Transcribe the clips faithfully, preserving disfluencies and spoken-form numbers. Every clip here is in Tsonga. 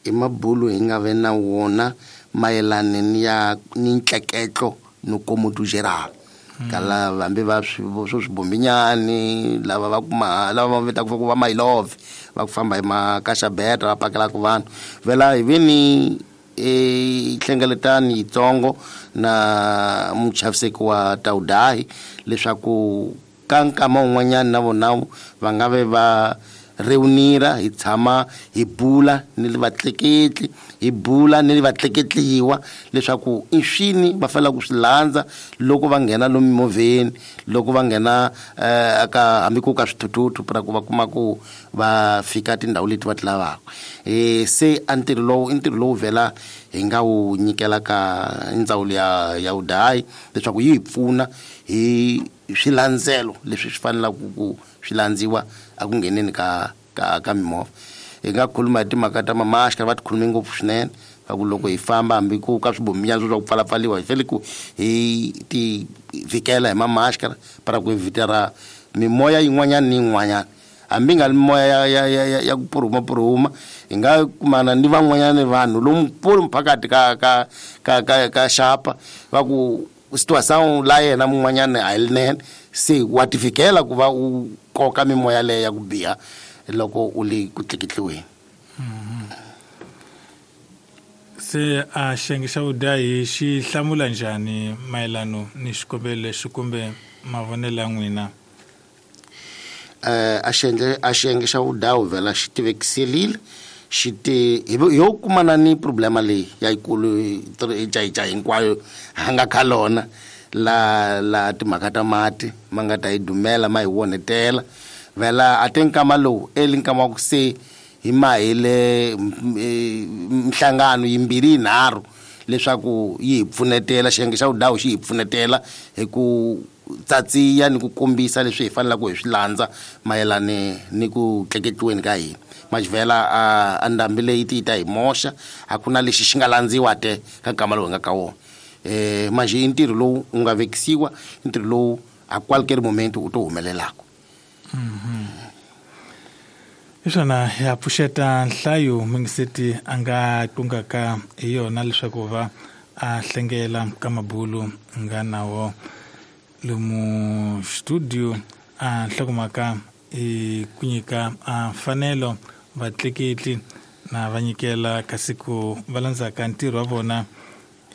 I mabulu hi nga ve na wona mayelana ni ya ni ntleketlo ni komoto geral kala hambi va swo swibombinyani lava va kuma lava va vitaka ku va my love va ku famba hi makaxabeta va pakelaka vanhu vela hi ve ni e hlengeletani yitsongo na muchaviseki wa Taudahi leswaku ka nkama wun'wanyana na vona va nga ve va reunira hi tshama hi bula ni le vatleketli hi bula ni le vatleketliwa leswaku i swini va fanele ku swi landza loko va nghena lomu mimovheni loko va nghena eka hambi ku ka swithuthuthu pra ku va kuma ku va fika tindhawu leti va ti lavaka. E se a ntirho lowu i ntirho lowu vhela hi nga wu nyikela ka ndzawulo ya ya vudayi leswaku yi hi pfuna hi swilandzelo leswi swi fanelaka ku swi landziwa a ku ngheneni ka ka ka mimovha. Hi nga khuluma hi timhaka ta mamaxka va ti khulume ngopfu swinene va ku loko hi famba hambi ku ka swibominyana swo swa ku pfalapfaliwa hi fanele ku hi ti vhikela hi mamaxka para ku evitara mimoya yin'wanyana ni yin'wanyana hambi nga mimoya ya ya ya ya ku purhuma purhuma hi nga kumana ni van'wanyana vanhu lomu pulu phakathi ka ka ka ka ka xapa va ku situação la yena mun'wanyana a hi linene se wa ti fikela ku va u koka mimoya leya ya ku biha loko u le ku tleketliweni. Se a xiyenge xa vudahi xi hlamula njhani mayelano ni xikombelo lexi kumbe mavonelo ya n'wina? Eh a xiyenge a xiyenge xa vudahi vhela xi tivekiselile xi te yo kumana ni problema leyi ya yikulu jaija hinkwayo ha nga kha lona la la timhaka ta mati ma nga ta yi dumela ma hi wonetela vhela a te nkama lowu eli nkama wa ku se hi mahile mihlangano yimbirhi yinharhu leswaku yi hi pfunetela xiyenge xa vudawu xi hi pfunetela hi ku tsatsiya ni ku kombisa leswi hi fanelaka hi swi landza mayelana ni ku tleketliweni ka hina. Majivela a ndhambi leyi ti ta hi moxa a ku na lexi xi nga landziwa te ka nkama lowu hi nga ka wona. Eh manje i ntirho lowu wu nga vekisiwa i ntirho lowu a qualquer momento u to humelelaka. Hi swona ya pfuxeta nhlayo mingiseti a nga tungaka hi yona leswaku va a hlengela ka mabulu nga nawo lomu studio a nhlokomhaka i ku nyika a mfanelo vatleketli na va nyikela kasi ku va landzaka ntirho wa vona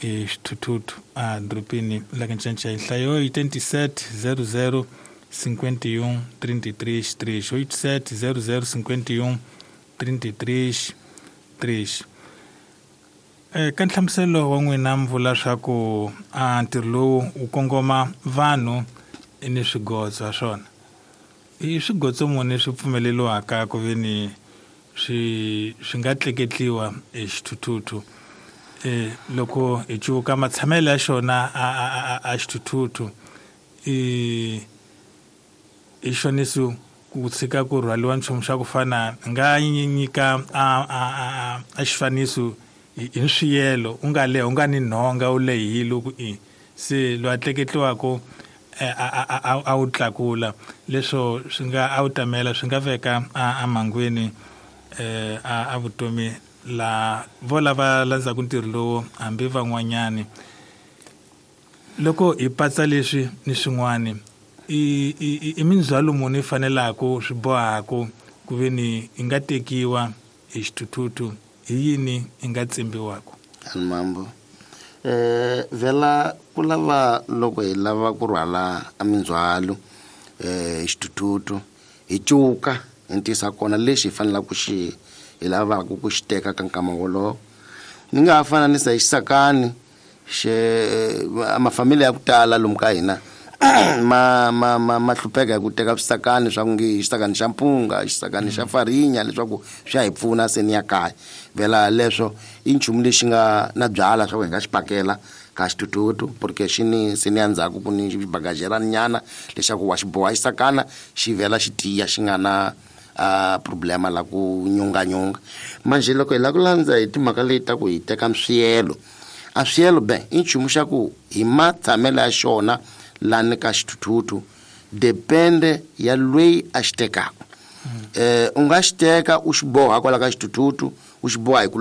i xithuthuthu a dorobeni la ka Ncancai. Nhlayo yi twenty-sept zero zero cinquante et un trinta e três três oito sete zero zero cinquante e um trinta e três três. Ka nhlamuselo wa n'wina mi vula swa ku a ntirho lowu wu kongoma vanhu ni swigotso ha swona. I swigotso muni swi pfumeleriwaka ku ve ni swi swi nga tleketliwa hi xithuthuthu? E loko hi cuka matshamelo ya xona a a a xithuthuthu i i xoniso ku tshika ku rhwaliwa nchumu xa ku fana nga nyika a a a xifaniso hi swiyelo u nga leha u nga ni nhonga u lehile ku i se loyi a tleketliwaka a a wu tlakula leswo swi nga a wu tamela swi nga veka a mangwini eh a vutomi la vo lava landzaka ntirho lowu hambi van'wanyani. Loko hi patsa leswi ni swin'wani i i i mindzhwalo muni yi fanelaka swi bohaka ku ve ni yi nga tekiwa hi xithuthuthu hi yini yi nga tsimbiwaka? Mambo eh vhela ku lava loko hi lava ku rhwala a mindzhwalo eh xithuthuthu hi cuka hi ntisa kona lexi hi fanelaka ku xi hi lavaka ku xi teka ka nkama wolowo. Ni nga ha fananisa hi xisakani xe mafamili ya ku tala lomu ka hina ma ma ma ma hlupheka hi ku teka swisakani swa ku nge xisakani xa mpunga xisakani xa farinya leswaku swi ya hi pfuna se ni ya kaya. Vhela leswo i nchumu lexi nga na byala swa ku hi nga xi pakela ka xithuthuthu porque xi ni se ni ya ndzhaku ku ni xibagajerani nyana leswaku wa xi boha xisakana xi vhela xi tiya xi nga na a problema la ku nyunganyunga. Manje loko hi lava ku landza hi timhaka leti ta ku hi teka swiyelo a swiyelo be i nchumu xa ku hi matshamelo ya xona lani ka xithuthuthu depende ya loyi a xi tekaka. Eh u nga xi teka u xi boha kwala ka xithuthuthu u xi boha hi ku